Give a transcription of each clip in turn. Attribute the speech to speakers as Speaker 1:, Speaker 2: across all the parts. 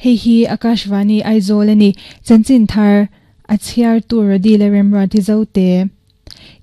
Speaker 1: Hei hi Akashvani Aizawl a ni. Chanchin thar a chhiartu Rody leh Remruati Zote.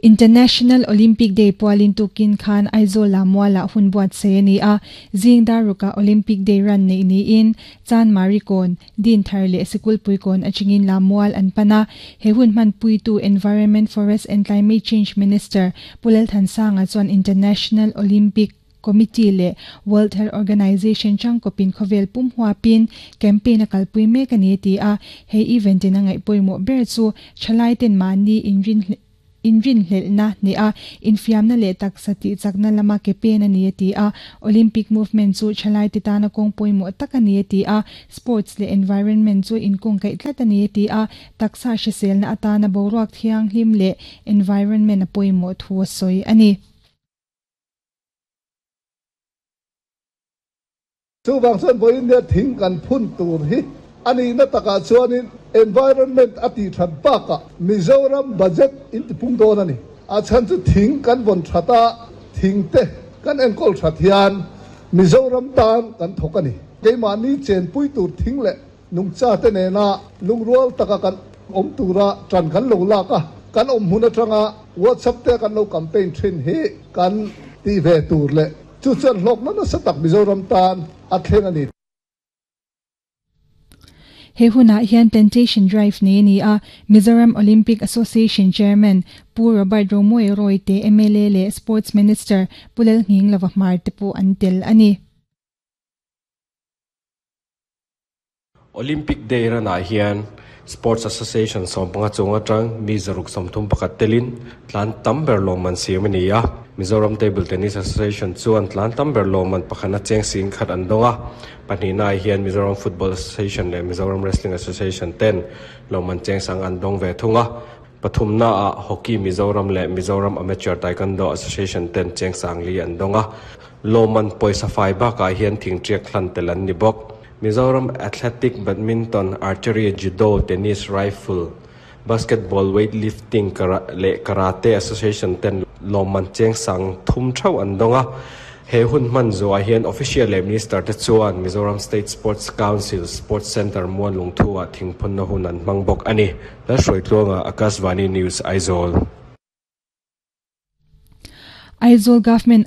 Speaker 1: International Olympic Day pualin tukin khan Aizawl-ah mualah hun buatsaih a ni a, zing dar rukah Olympic Day run neih niin Chanmari kawn, Dinthar leh Sikulpui kawn atangin la mual an pan a. He hun hmanpuitu Environment, Forest and Climate Change Minister Pu Lalthansanga chuan International Olympic Committee leh World Health Organization changkawpin khawvel pum huapin campaign a kalpui mek a ni a ti a. He event in a ngaih pawimawh ber chu thalaiten mahni inrin inrinhlelhna hneh a, infiamna leh taksa tihchakna lama ke pen a ni a ti a. Olympic movement chu thalaite tana kawng pawimawh tak a ni a ti a. Sports leh environment chu inkungkaih tlat a ni a ti a. Taksa hriselna atana boruak thianghlim leh environment a pawimawh thu a sawi a ni.
Speaker 2: Chuvang chuan vawiin nia thing kan phun tur hi a nihna takah chuanin environment a tih that bakah Mizoram budget in tipung dawn a ni. A chhan chu thing kan vawn that a, thing te kan enkawl that hian Mizoram tan kan thawk a ni. Keimahni chenpui tur thing leh nungcha te nena lungrual taka kan awm tura tan kan lo lak a, kan awm hmun atanga WhatsApp te kan lo campaign thin hi kan tih ve tur leh Chu chuan hlawkna nasa tak Mizoram tan a thleng a ni.
Speaker 1: He hunah hian Plantation Drive nei a ni a, Mizoram Olympic Association Chairman Pu Robert Romawia Royte, mla leh Sports Minister Pu Lalnghinglova Hmar te pawh an tel a ni.
Speaker 3: Olympic Day ranah hian Sports Association 15 chung atang mi 131 telin tlan tam ber lawmman siam a ni a. Mizoram Table Tennis Association chuan tlan tam ber lawmman pakhana cheng 10,000 an dawng a. Pahnihnaah hian Mizoram Football Association leh Mizoram Wrestling Association ten lawmman cheng sang an dawng ve thung a. Pathumnaah Hockey Mizoram leh Mizoram Amateur Taekwondo Association ten cheng 4,000 an dawng a. Lawmman pawisa fai bakah hian thingṭiak hlan tel an ni bawk. Mizoram Athletic, Badminton, Archery, Judo, Tennis, Rifle, Basketball, Weightlifting leh Karate Association ten lawmman cheng 3,000 theuh an dawng a. He hun hman zuah hian Official leh Minister te chuan Mizoram State Sports Council Sports Centre Muanlungthu-ah thingphunna hun an hmang bawk a ni. Lalhruaitluanga, Akashvani News, Aizawl.
Speaker 1: Aizawl Government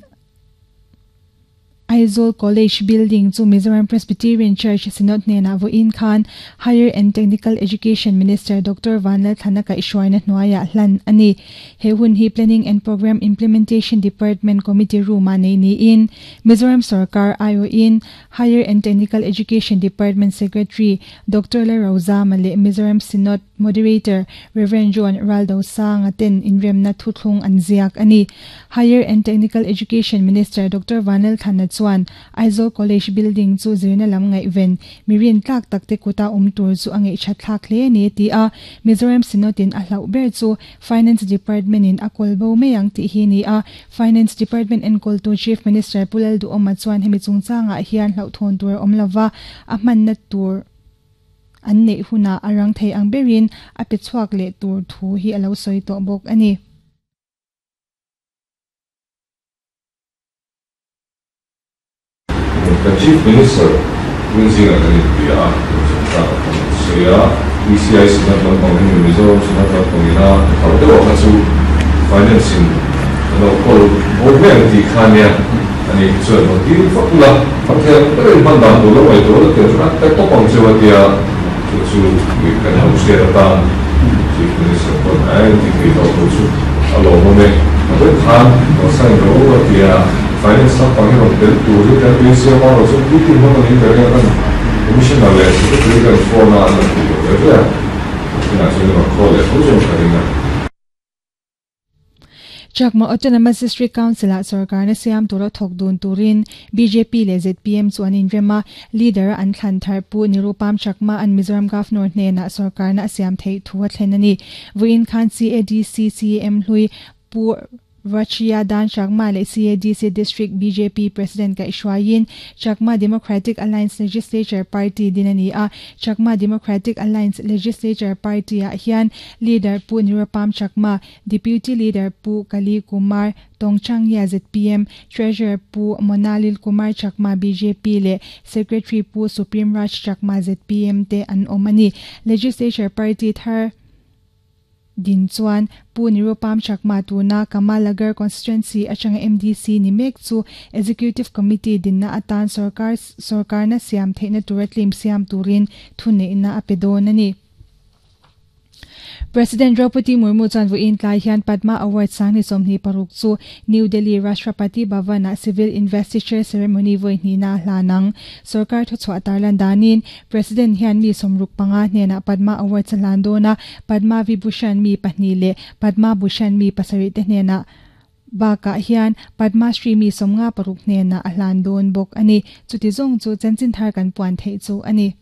Speaker 1: Aizawl College building chu Mizoram Presbyterian Church Synod hnenah vawiin khan Higher and Technical Education Minister Doctor Vanlalthlana kaihhruaina hnuaiah hlan a ni. He hun hi Planning and Programme Implementation Department Committee room-ah nei niin Mizoram sorkar aiawhin Higher and Technical Education Department Secretary Doctor Lalrozama leh Mizoram Synod Moderator, Rev. John Raldosanga ten inremna thuthlung an ziak a ni. Higher and Technical Education Minister Doctor Vanlal Thana chuan Aizawl College building chu zirna lam ngaihven mi rintlak tak te kuta awm tur chu a ngeihthat thlak hle a ni a ti a. Mizoram Synod in a hlauh ber chu Finance Department in a kawl bo mai ang tih hi a ni a. Finance Department enkawltu Chief Minister Pu Lalduhawma chuan hemi chungchangah hian hlauhthawn tur a awm lova, a hmanna tur An neih hunah a rang thei ang berin a pe chhuak leh tur thu hi a lo sawi tawh bawk a ni.
Speaker 4: Kan Chief Minister Rinzinga kan inbia a, kan chungchang a kan sawi a, ECI Synod lampang hi Mizoram Synod lampang ina hauh deuh a kha chu Finance in a lo kawl bo mai ang tih kha nia. A ni chuan rawn dil vak ula, a thei ang berin hman dan tur lo ngaihtuah la tel chuan a pe tawp ang cheu a tia, chu chu mi kan lo hriat atan Chief Minister pawn a en ti thei tawh tur chu a lawmawm e. A vawi khan rawn sign rawh u a tia, Finance lampang hi rawn tel tur hi kan beisei a, amaherawhchu meeting hman a nih ber hian kan Commissioner leh Secretary kan phone a an rawn ti lo ve ve a, tunah chuan i rawn call leh tho chuan ka ring a.
Speaker 1: Chakma Autonomous District Council-ah sorkarna siam tura thawk dun turin bjp leh zpm chu an inrem a, leader-a an thlan thar Pu Nirupam Chakma an Mizoram Governor hnenah sorkarna a siam theih thu a thlen a ni. Vawiin khan CADC CM hlui Pu Rachia Dan Chakma leh CADC District bjp President kaihhruaiin Chakma Democratic Alliance Legislature Party din a ni a. Chakma Democratic Alliance Legislature Party-ah hian Leader Pu Nirupam Chakma, Deputy Leader Pu Kali Kumar Tongchangya zpm, Treasurer Pu Monalil Kumar Chakma bjp leh Secretary Pu Supreme Raj Chakma zpm te an awm a ni. Legislature Party thar din chuan Pu Nirupam Chakma tuna Kamalagar Constituency atanga MDC ni mek chu Executive Committee dinna atan sorkar sorkarna siam theihna tura tlim siam turin thuneihna a pe dawn a ni. President Draupadi Murmu chuan vawiin tlai hian Padma Award sangni 26 chu New Delhi Rashtrapati Bhavan-ah Civil Investiture Ceremony vawi hnihna a hlan ang. Sorkar thuchhuah tarlan danin President hian mi 65 hnenah Padma Awards a hlan dawn a, Padma Vibhushan mi pahnih leh Padma Bhushan mi pasarih te hnenah bakah hian Padma Shri mi 56 hnenah a hlan dawn bawk a ni. Chuti zawng chu chanchin thar kan puan theih chu a ni.